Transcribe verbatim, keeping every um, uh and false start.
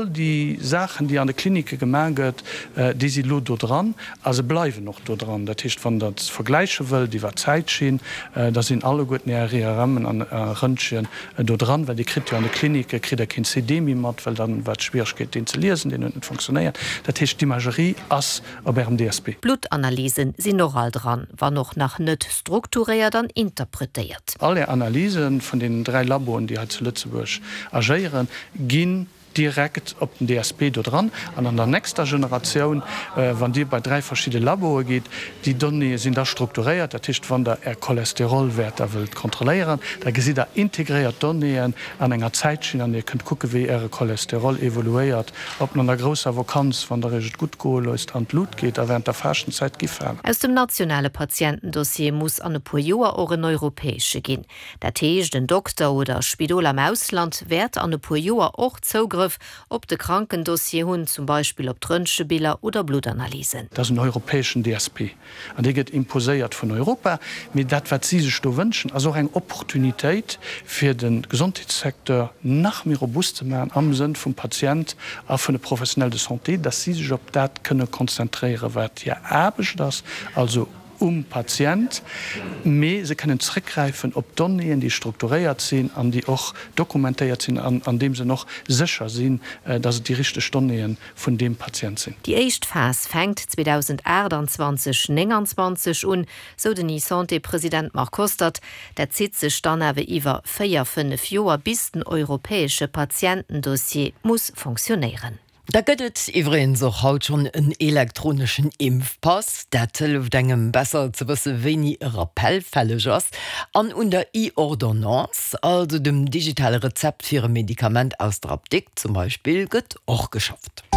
Déi Saachen, déi an de Klinicke gemaach gëtt, déi si lo do dran a se bleiwen och do dran. Dat heescht, wann Der et vergläiche wëllt iwwer d'Zäitschinn, da sinn alleguerten Är I R M'en an Rëntgen do dran, well Dir kritt jo an de Klinicke kritt Der keen C D méi mat, well dann war d'Schwieregkeet, deen ze liesen, deen huet net funktionéiert. Dat heescht, d'Imagerie ass op Ärem D S P. D'Bluttanalysen sinn och all dran, wann och nach net strukturéiert an interpretéiert. All Är Analyse vun deenen dräi Laboen, déi hei zu Lëtzebuerg agéieren, ginn direkt op den D S P do dran. An an der nächster Generatioun, wann Dir bei dräi verschidde Laboe gitt, déi Donnéeë sinn da strukturéiert. Dat heescht, wann Der Är Cholesterolwäerter wëllt kontrolléieren, da gesitt Der integréiert Donnéeën an enger Zäitschinn an Dir kënnt kucke wéi Äre Cholesterol evoluéiert, ob en an der grousser Vakanz, wann Der Iech et gutt goe loosst, an d'Lut geet a wärend der Faaschtenzäit gi falen. Aus dem nationale Patientendossier muss an e puer Joer och en europäesche ginn. Dat heescht, en Dokter oder Spidol am Ausland wäert an e puer Joer och Zougrëff op de Krankendossier hunn, zum Beispill op d'Röntgebiller oder Bluttanalysen. Dat ass en europäeschen D S P an dee gëtt imposéiert vun Europa. Mee dat, wat si sech do wënschen, ass och eng Opportunitéit, fir de Gesondheetssecteur nach méi robust ze maachen am Sënn vum Patient a vun de Professionnels de santé, dass si sech op dat kënne konzentréieren, wat hir Aarbecht ass, also um Patient, mee se kënnen zréckgräifen op Donnéeën, déi strukturéiert sinn an déi och dokumentéiert sinn an an deem Sënn och sécher sinn, dass et déi richteg Donnéeë vun deem Patient sinn. Déi éischt Phas fänkt zweedausendaachtanzwanzeg nénganzwanzeg un, sou den eSanté-President Marc Hostert. Dat zitt sech dann awer iwwer véier, fënnef Joer, bis den europäesche Patientendossier muss funktionéieren. Da gëtt et iwwregens och haut schonn en elektroneschen Impfpass. Dat hëlleft engem besser ze wësse wéini e Rappel fälleg ass. An un der E-Ordonnance, also dem digitale Rezept fir e Medikament aus der Apdikt zum Beispill, gëtt och geschafft.